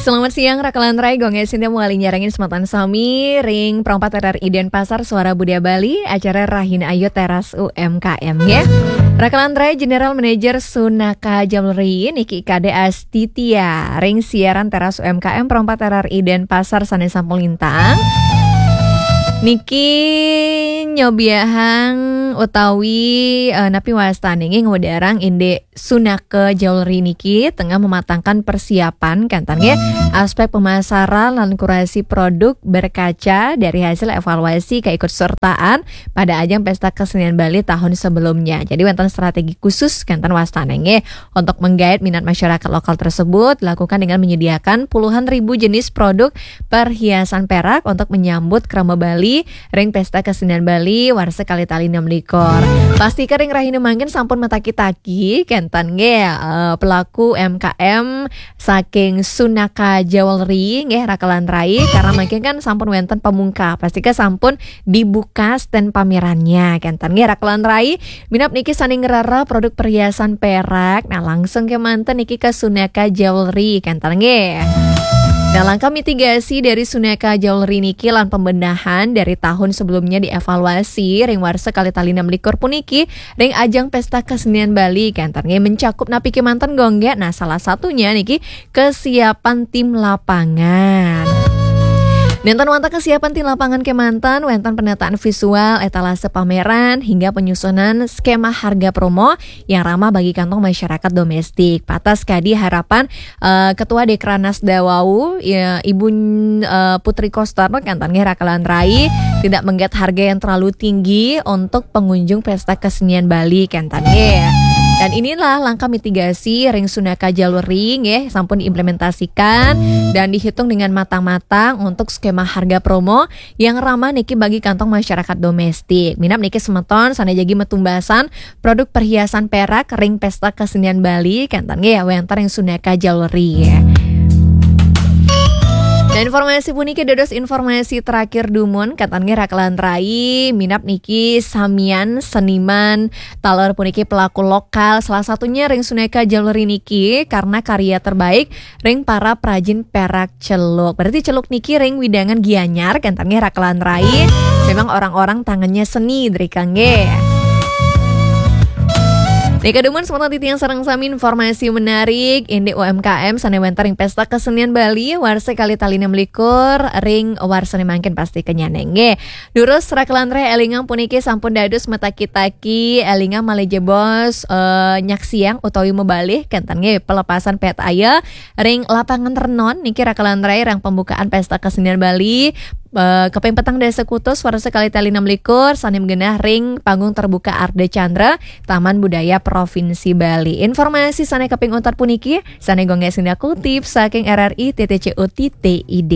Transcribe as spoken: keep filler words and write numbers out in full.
Selamat siang, Raka lan Rai. Gue Ngesin, mau ngalih nyarengin sematan sami ring Pro empat R R I Denpasar, Suara Budaya Bali, acara Rahina Ayu Teras U M K M, ya. Raka lan Rai, General Manager Sunaka Jewelry, niki Kade Astitia, ring siaran Teras U M K M Pro empat R R I Denpasar sane sampun lintang. Niki nyobiahang utawi, eh, napi wastane nggih, ngwedarang indik Sunaka Jewelry niki tengah mematangkan persiapan, kenten nggih, aspek pemasaran lan kurasi produk berkaca dari hasil evaluasi keikutsertaan pada ajang Pesta Kesenian Bali tahun sebelumnya. Jadi wenten strategi khusus, kenten wastane nggih, untuk menggait minat masyarakat lokal tersebut, dilakukan dengan menyediakan puluhan ribu jenis produk perhiasan perak untuk menyambut krama Bali ring Pesta Kesenian Bali warsa kalih tali enam likur. Pastika ring rahina mangkin sampun mataki-taki, kenten nggih, eh, pelaku M K M saking Sunaka Jewelry nggih, Raka lan Rai, karena mangkin kan sampun wenten pamungkah, pastika sampun dibuka stand pamerannya, kenten nggih, Raka lan Rai. Minab niki sane ngrereh produk perhiasan perak, nah, langsung kemanten niki ke Sunaka Jewelry, kenten nggih. Nah, langkah mitigasi dari Sunaka Jewelry niki lan pembenahan dari tahun sebelumnya dievaluasi ring warsa kalih tali enam likur puniki ring ajang Pesta Kesenian Bali, kenten nggih, mencakup napi kemanten, Gung, nggih? Nah, salah satunya niki kesiapan tim lapangan. Nenten wantah kesiapan tim lapangan kemanten, wenten penataan visual, etalase pameran, hingga penyusunan skema harga promo yang ramah bagi kantong masyarakat domestik. Patas kadi harapan, eh, Ketua Dekranasda wau, ya, Ibu, eh, Putri Koster, kenten nggih, Raka lan Rai, tidak mengget harga yang terlalu tinggi untuk pengunjung Pesta Kesenian Bali, kenten nggih. Dan inilah langkah mitigasi ring Sunaka Jewelry nggih, sampun diimplementasikan dan dihitung dengan matang-matang untuk skema harga promo yang ramah niki bagi kantong masyarakat domestik. Minab niki semeton sane jagi metumbasan produk perhiasan perak ring Pesta Kesenian Bali, kenten nggih, ya, wenten ring Sunaka Jewelry, ya. Dan informasi puniki dados informasi terakhir dumun, kenten nggih, Raka lan Rai, minab niki samian seniman taler puniki pelaku lokal, salah satunya ring Sunaka Jewelry niki karena karya terbaik ring para prajin perak celuk. Berarti celuk niki ring widangan Gianyar, kenten nggih, Raka lan Rai. Memang orang-orang tangannya seni, drika nggih. Nika dumun semeton titiang sareng sami informasi menarik indik U M K M sane wenten ring Pesta Kesenian Bali warsa kalih tali enam likur ring warsane mangkin, pasti kenyane nggih. Durus Raka lan Rai, elingang puniki sampun dados mataki-taki, elingang malih jebos, eh, nyaksiang utawi mabalih, kenten nggih, pelepasan petaya ring Lapangan Renon niki, Raka lan Rai, ring pembukaan Pesta Kesenian Bali, eh, kaping petang dasa Agustus warsa kalih tali enam likur, sane magenah ring Panggung Terbuka Ardha Candra, Taman Budaya Provinsi Bali. Informasi sane kaping untat puniki sane Gung Ngesin kutip saking R R I titik C O titik I D.